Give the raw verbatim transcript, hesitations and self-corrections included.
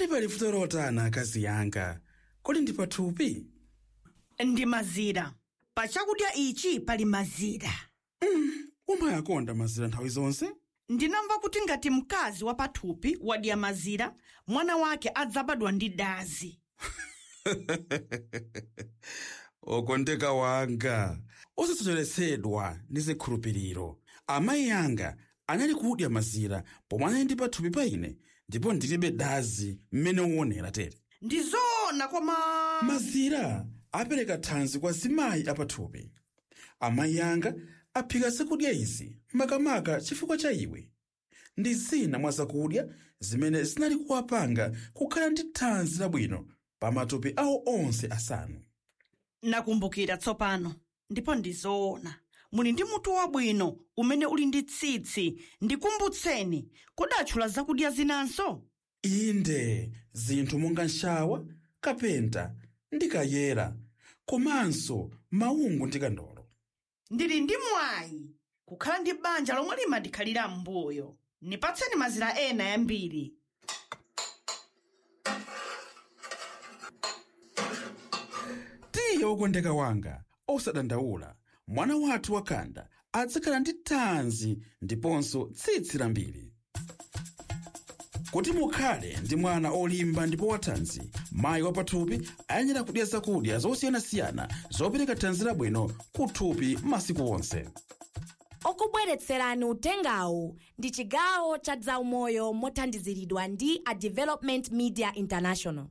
Kodi pali vuto lotani, akazi yanga? Kodi ndi pathupi? Ndi mazira. Pa chakudya ichi pali mazira. Umayakonda mazira nthawi zonse. Ndinamva kuti ngati mkazi wa pathupi wadya mazira, mwana wake adzabadwa ndi dazi. Okondeka wanga, osasocheretsedwa ndi zikhulupiriro. Amayi anga anali kudya mazira pomwe anali ndi pathupi pa ine, ndipo ndilibe dazi mmene uonera tere. Ndi zoona, koma Mazira apereka thanzi kwa zimayi apathupi. Amayi anga aphika zakudya izi makamaka chifukwa cha iwe. Ndi zina mwa zakudya zimene zinali kuwapanga kukhala ndi thanzi labwino pa matupi awo onse asanu. Nakumbukira tsopano, ndipo ndi zoona. Muli ndi mutu wabwino umene uli ndi tsitsi. Ndikumbutseni, kodatchula zakudya zinanso? Inde, zinthu monga nshawa, kapenta ndi kayera, komanso maungu ndi kandolo. Ndili ndi mwayi kukhala ndi banja lomwe limandikhalira m'mbuyo. Nipatseni mazira ena yambiri. Tiye, wokondeka wanga, osadandaula. Mwana wathu wakhanda adzakhala ndi thanzi ndiponso tsitsi lambiri. Kuti mukhale ndi mwana olimba ndipo wathanzi, mayi wapathupi ayenera kudya zakudya zosiyanasiyana zopereka thanzi labwino kuthupi masiku onse. Okubweretserani utengawu ndi chigawo cha zaumoyo mothandiziridwa ndi a Development Media International.